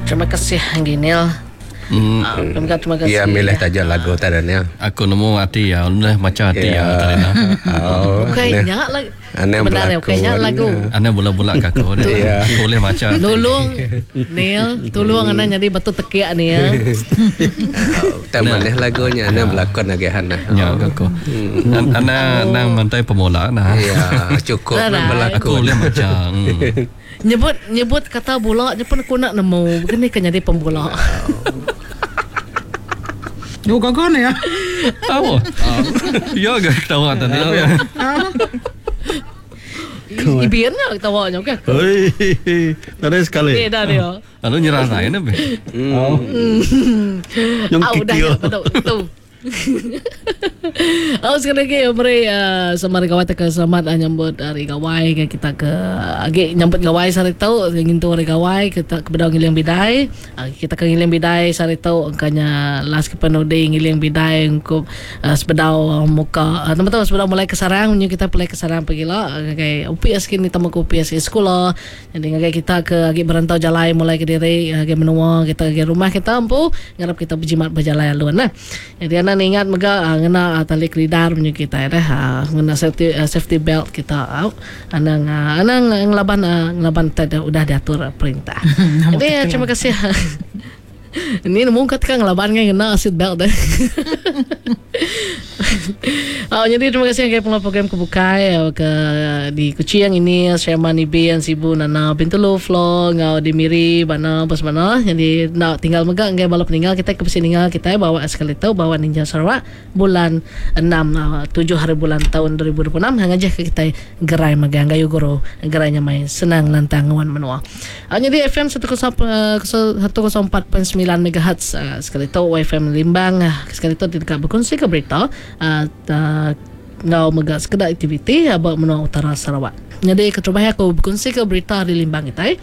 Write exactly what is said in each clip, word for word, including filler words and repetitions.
Terima kasih Ginil. Hmm. Uh, terima kasih. Iya milih taja lagu tadi ni. Aku nemu ati ya, boleh maca ati ya tadi nah. Oh. Bukannya lagu. Aneh Benar ya, bukannya lagu. Aneh bulat-bulat ke aku ni. Ya. Aku boleh maca. Tolong Neil, tolong anda jadi batu tekiak ni ya. Tak mana lagunya, anda berlakon lagi hana. Ya, aku. Ana nang mantai pemula nah. Ya, cukup berlakon. Aku boleh maca. Nyebut nyebut kata bola je pun aku nak nemu. Bukan ni kan jadi pembola. Yo gagal ni ya. Tahu. Ya ke ketawa tadi. Ibian lah ketawa nya kan. Hei, tadi sekali. Eh dah dia. Lalu nyerah saya ni. Oh. Yang Ah, udah kikil. ya, betul. Betul. Oh, sekali lagi beri uh, selamat gawai ke selamat uh, nyambut hari gawai ke kita ke agi nyambut gawai sehari tu ngintu hari gawai kita ke bedau ngiling bidai uh, kita ke ngiling bidai sehari tu angkanya last ke penudi ngiling bidai untuk uh, sebedau uh, muka uh, teman-teman sebedau mulai ke sarang menyu kita mulai ke sarang pergi lah ngagai U P S kini tamu ke U P S ke sekolah jadi ngagai kita ke agi berantau jalai mulai ke diri ngagai menua kita ke rumah kita empu ngarap kita berjimat berjalan alun nah jadi anak ingat mega uh, ngena uh, tali kelidar menyu kita dah uh, ngena safety uh, safety belt kita uh, anang uh, anang ngelaban uh, ngelaban tada udah diatur uh, perintah. Jadi uh, terima kasih. Ini nemu kat kan ngelaban kan ngena seat belt dah. Oh, jadi terima kasih ke pengelola program kebukai ke di Kuching ini Sherman Ibi yang Sibu Nana Bintulu Flo ngau di Miri bana bos mana jadi nak tinggal megak ngai balap meninggal kita ke meninggal kita bawa sekali tahu bawa Ninja Sarawak bulan enam tujuh hari bulan tahun dua ribu dua puluh enam hang aja ke kita gerai megang gayu guru gerainya main senang lantang wan menua. Oh, jadi F M seratus empat perpuluhan sembilan megahertz uh, sekali tahu F M Limbang uh, sekali tahu tidak berkongsi ke berita uh, uh, ngau megak sekedar aktiviti abang menua utara Sarawak. Jadi keterubah aku berkongsi ke berita di Limbang kita. Eh.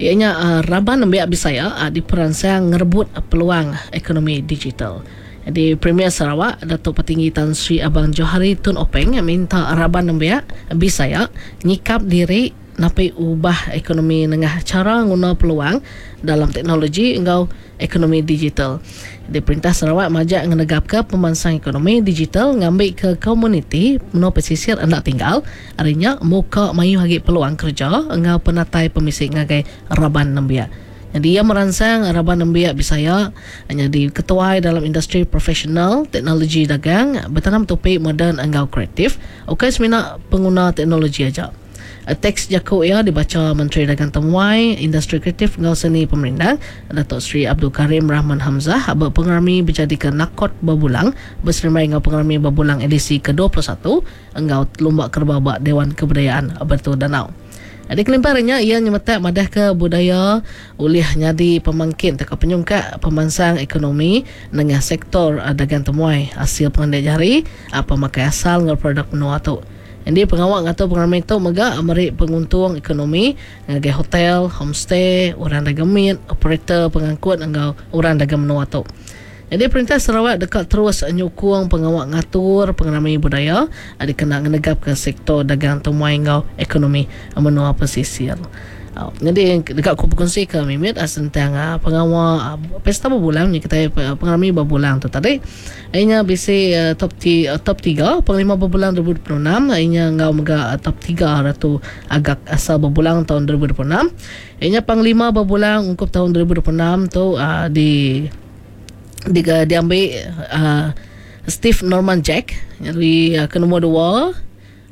Ianya uh, raban nembiak bisaya uh, di peransang ngerebut uh, peluang ekonomi digital. Jadi Premier Sarawak Datuk Patinggi Tan Sri Abang Johari Tun Openg minta raban nembiak bisaya nyikap diri napi ubah ekonomi nengah cara nguna peluang dalam teknologi engkau ekonomi digital. Di Perintah Sarawak majak ngenegap ke pemansang ekonomi digital ngambil ke komuniti menua pesisir hendak tinggal arinya muka mayu hagi peluang kerja engkau penatai pemisik ngagai raban nembiak. Jadi ia merangsang raban nembiak bisaya hanya di ketuai dalam industri profesional, teknologi dagang, bertanam topik moden engkau kreatif. Okey semina pengguna teknologi aja. Teks Jakub ia dibaca Menteri Dagang Temuai, Industri Kreatif Ngau Seni Pemerintah Datuk Seri Abdul Karim Rahman Hamzah berpengarami berjadi ke Nakot Berbulang berserimai ngau pengarami Berbulang edisi ke dua puluh satu engau Lumba Kerbau Bak Dewan Kebudayaan Bertu Danau. Jadi kelimparannya ia nyemetak madah ke budaya ulih nyadi pemangkin teka penyungkak pemansang ekonomi dengan sektor dagang temuai hasil pengendek jari apa makai asal ngau produk menua tu. Jadi pengawak atau pengarami itu megak merik penguntung ekonomi ngagai hotel, homestay, orang dagang mit, operator pengangkut engkau orang dagang menua tu. Jadi Perintah Sarawak dekat terus nyukung pengawak ngatur pengarami budaya ada kena ngenegap ke sektor dagang temuai engkau ekonomi menua pesisir. Uh, jadi dekat aku berkongsi ke Mimit uh, tentang uh, pengawal uh, pesta berbulan ni kita uh, pengarami berbulan tu tadi. Ianya bisi uh, top ti, uh, top tiga panglima berbulan dua ribu dua puluh enam ianya ngau mega uh, top tiga ratu agak asal berbulan tahun dua ribu dua puluh enam. Ianya panglima berbulan ungkup tahun dua ribu dua puluh enam tu uh, di di uh, diambil uh, Steve Norman Jack jadi uh, ke nombor dua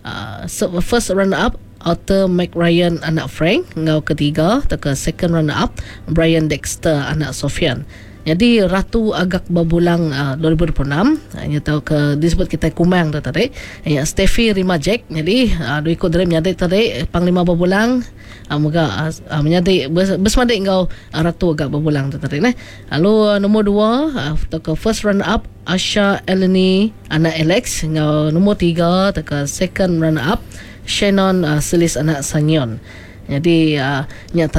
uh, first runner up Arthur McRyan anak Frank ngau ketiga atau second runner up Brian Dexter anak Sofian. Jadi Ratu Agak Berbulang uh, dua ribu dua puluh enam hanya tahu ke disebut kita Kumang tu tadi. Ya Steffi Rima Jack jadi uh, dua ikut dari menyadi tadi Panglima Berbulang uh, moga uh, menyadi bersemadik ngau uh, Ratu Agak Berbulang tu tadi nah. Lalu uh, nombor dua uh, atau ke first runner up Asha Eleni anak Alex ngau nombor tiga atau ke second runner up Shannon uh, Selis anak Sangion. Jadi uh, nyata